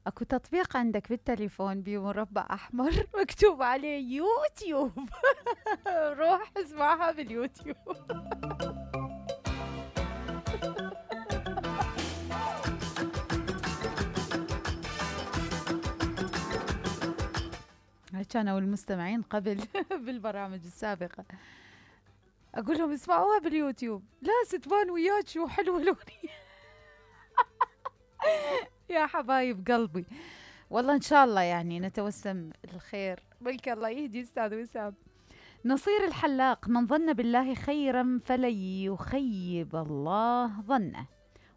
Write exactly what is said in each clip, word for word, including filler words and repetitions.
اكو تطبيق عندك بالتليفون بمربع احمر مكتوب عليه يوتيوب. روح اسمعها باليوتيوب. هاي كانوا المستمعين قبل بالبرامج السابقة اقول لهم اسمعوها باليوتيوب. لا ستبان وياك شو حلوة الاغنية. يا حبايب قلبي، والله ان شاء الله يعني نتوسم الخير. بلك الله يهدي استاذ وسام. نصير الحلاق: من ظن بالله خيرا فلن يخيب الله ظنه،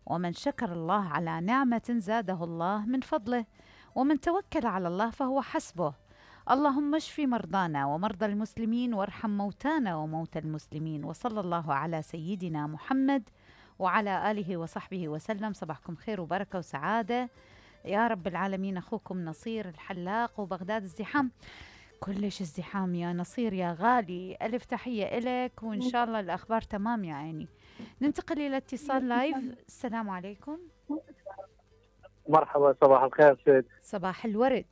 ومن شكر الله على نعمة زاده الله من فضله، ومن توكل على الله فهو حسبه. اللهم اشف مرضانا ومرضى المسلمين وارحم موتانا وموتى المسلمين، وصلى الله على سيدنا محمد وعلى آله وصحبه وسلم. صباحكم خير وبركة وسعادة يا رب العالمين. أخوكم نصير الحلاق، وبغداد الزحام كلش ازدحام يا نصير يا غالي. ألف تحية إلك، وإن شاء الله الأخبار تمام يا عيني. ننتقل إلى اتصال لايف. السلام عليكم. مرحبا، صباح الخير سيد. صباح الورد.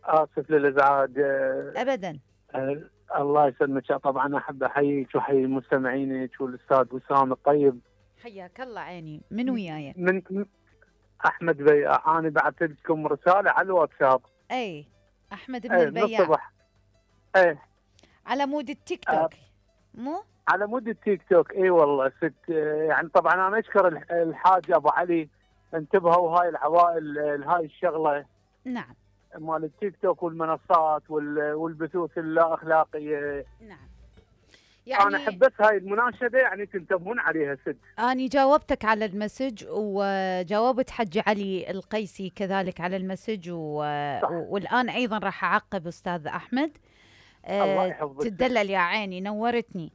آسف للإزعاج. أبدا. أه الله يسلمك. طبعا أحب أحييك وأحيي مستمعينك والأستاذ وسام الطيب. حياك الله عيني. من وياي؟ من أحمد بياع. أنا بعثت لكم رسالة على الواتساب. أي أحمد بن أي البياع. الصبح. أي على مود التيك توك. أه مو على مود التيك توك. اي والله ست. يعني طبعا انا اشكر الحاج ابو علي، انتبهوا هاي العوائل هاي الشغله. نعم. مال التيك توك والمنصات والبثوث اللا اخلاقيه. نعم. يعني انا احب بس هاي المناشده يعني تنتبهون عليها ست. اني جاوبتك على المسج، وجاوبت حج علي القيسي كذلك على المسج، و... والان ايضا راح اعقب استاذ احمد. الله يحفظك. تدلل يا عيني، نورتني.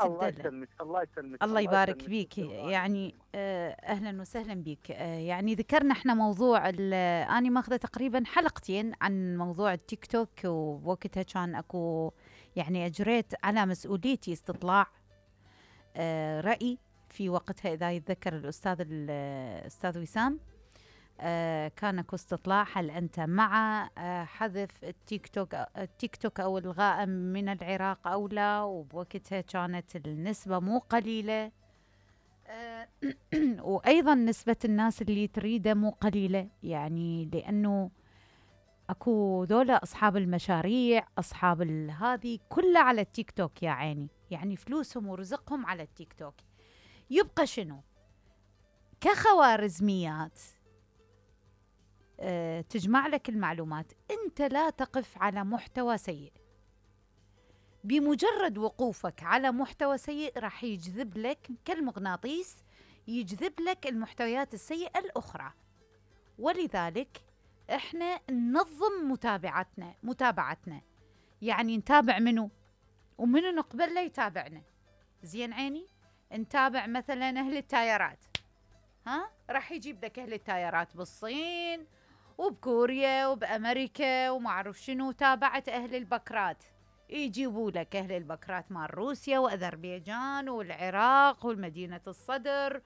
الله يسلمك. الله يسلمك. الله يبارك بيك. يعني اهلا وسهلا بيك. يعني ذكرنا احنا موضوع اني ماخذه تقريبا حلقتين عن موضوع التيك توك، ووقتها كان اكو يعني اجريت على مسؤوليتي استطلاع راي في وقتها، اذا يتذكر الاستاذ الاستاذ وسام. آه كان اكو استطلاع: هل انت مع آه حذف التيك توك التيك توك او الغاء من العراق او لا؟ وبوقتها كانت النسبه مو قليله، آه وايضا نسبه الناس اللي تريده مو قليله، يعني لانه اكو ذولا اصحاب المشاريع، اصحاب هذه كلها على التيك توك يا عيني، يعني فلوسهم ورزقهم على التيك توك. يبقى شنو؟ كخوارزميات أه تجمع لك المعلومات. انت لا تقف على محتوى سيء، بمجرد وقوفك على محتوى سيء راح يجذب لك كالمغناطيس، يجذب لك المحتويات السيئة الأخرى. ولذلك احنا ننظم متابعتنا متابعتنا يعني نتابع منو ومنو نقبل لا يتابعنا. زين عيني؟ نتابع مثلا أهل التايرات، ها راح يجيب لك أهل التايرات بالصين وبكوريا وبأمريكا وما أعرف شنو. تابعت أهل البكرات، يجيبوا لك أهل البكرات مال روسيا وأذربيجان والعراق والمدينة الصدر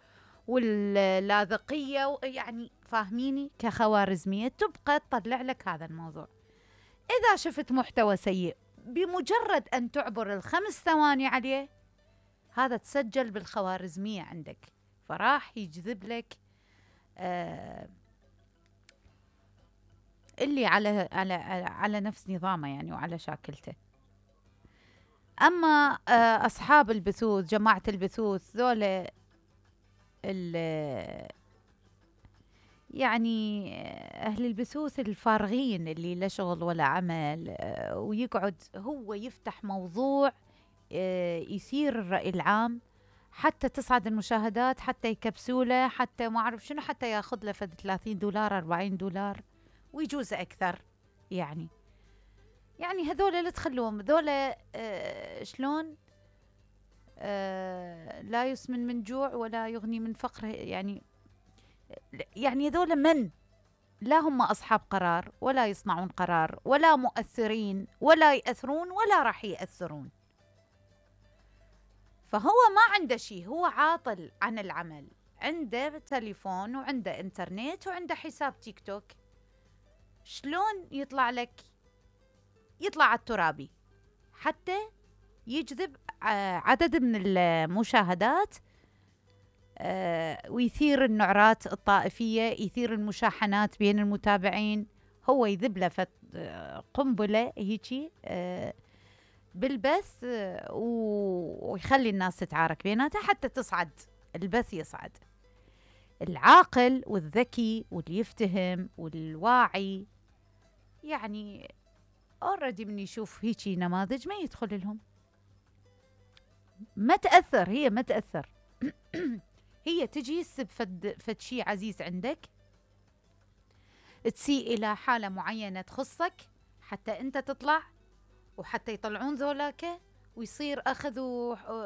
واللاذقية، يعني فاهميني؟ كخوارزمية تبقى تطلع لك هذا الموضوع. إذا شفت محتوى سيء بمجرد أن تعبر الخمس ثواني عليه، هذا تسجل بالخوارزمية عندك، فراح يجذب لك آه اللي على على على نفس نظامه يعني وعلى شاكلته. اما آه اصحاب البثوث، جماعه البثوث ذولا يعني اهل البثوث الفارغين اللي لا شغل ولا عمل، آه ويقعد هو يفتح موضوع آه يثير الرأي العام، حتى تصعد المشاهدات، حتى يكبسوله، حتى ما اعرف شنو، حتى ياخذ له فد ثلاثين دولار أربعين دولار ويجوز اكثر. يعني يعني هذول اللي تخلوهم هذول آه شلون آه لا يسمن من جوع ولا يغني من فقر. يعني يعني هذول من لا هم اصحاب قرار ولا يصنعون قرار ولا مؤثرين ولا يأثرون ولا راح يأثرون. فهو ما عنده شيء، هو عاطل عن العمل، عنده تليفون وعنده انترنت وعنده حساب تيك توك، شلون يطلع لك يطلع على الترابي حتى يجذب عدد من المشاهدات ويثير النعرات الطائفية، يثير المشاحنات بين المتابعين. هو يذب له قنبلة هيجي بالبث ويخلي الناس تتعارك بيناتها حتى تصعد البث، يصعد. العاقل والذكي واللي يفتهم والواعي يعني اوريدي من يشوف هيجي نماذج ما يدخل لهم، ما تأثر، هي ما تأثر. هي تجي تسب فد, فد شيء عزيز عندك، تسيء إلى حالة معينة تخصك حتى أنت تطلع وحتى يطلعون ذولاك ويصير أخذ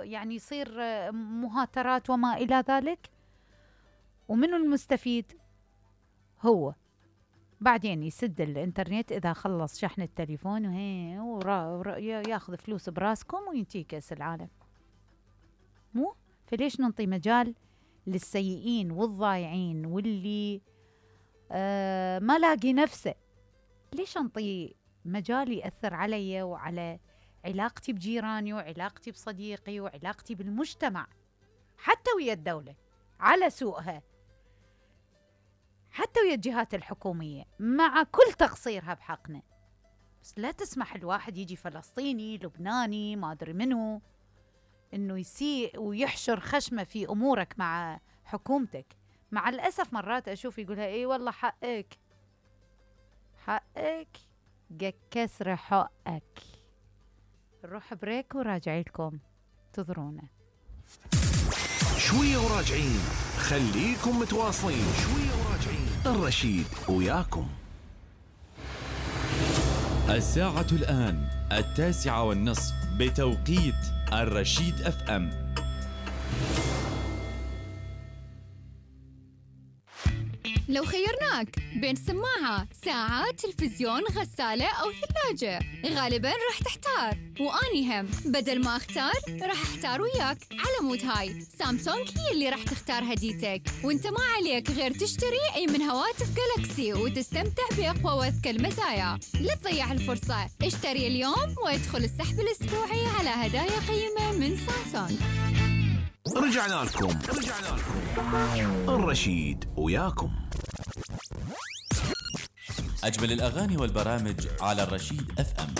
يعني يصير مهاترات وما إلى ذلك. ومنو المستفيد؟ هو بعدين يسد الانترنت إذا خلص شحن التليفون وهي وياخذ فلوس براسكم وينتهي كأس العالم. مو فليش ننطي مجال للسيئين والضايعين واللي آه ما لاقي نفسه؟ ليش انطي مجال يأثر علي وعلى علاقتي بجيراني وعلاقتي بصديقي وعلاقتي بالمجتمع حتى ويا الدولة على سوءها، حتى ويا الجهات الحكومية مع كل تقصيرها بحقنا. بس لا تسمح الواحد يجي فلسطيني لبناني ما أدري منه إنه يسيء ويحشر خشمه في أمورك مع حكومتك. مع الأسف مرات أشوف يقولها إيه والله حقك حقك جا كسر حقك. نروح بريك وراجعي لكم، انتظرونا شوية وراجعين، خليكم متواصلين. شوية وراجعين، الرشيد وياكم. الساعة الآن التاسعة والنصف بتوقيت الرشيد اف ام. لو خيرناك بين سماعة، ساعة، تلفزيون، غسالة أو ثلاجة، غالباً راح تحتار، وأني هم بدل ما أختار راح أحتار وياك. على مود هاي سامسونج هي اللي راح تختار هديتك، وانت ما عليك غير تشتري أي من هواتف جالكسي وتستمتع بأقوى وأذكى المزايا. لا تضيع الفرصة، اشتري اليوم وادخل السحب الأسبوعي على هدايا قيمة من سامسونج. رجعنا لكم رجعنا لكم الرشيد وياكم. أجمل الأغاني والبرامج على الرشيد اف ام.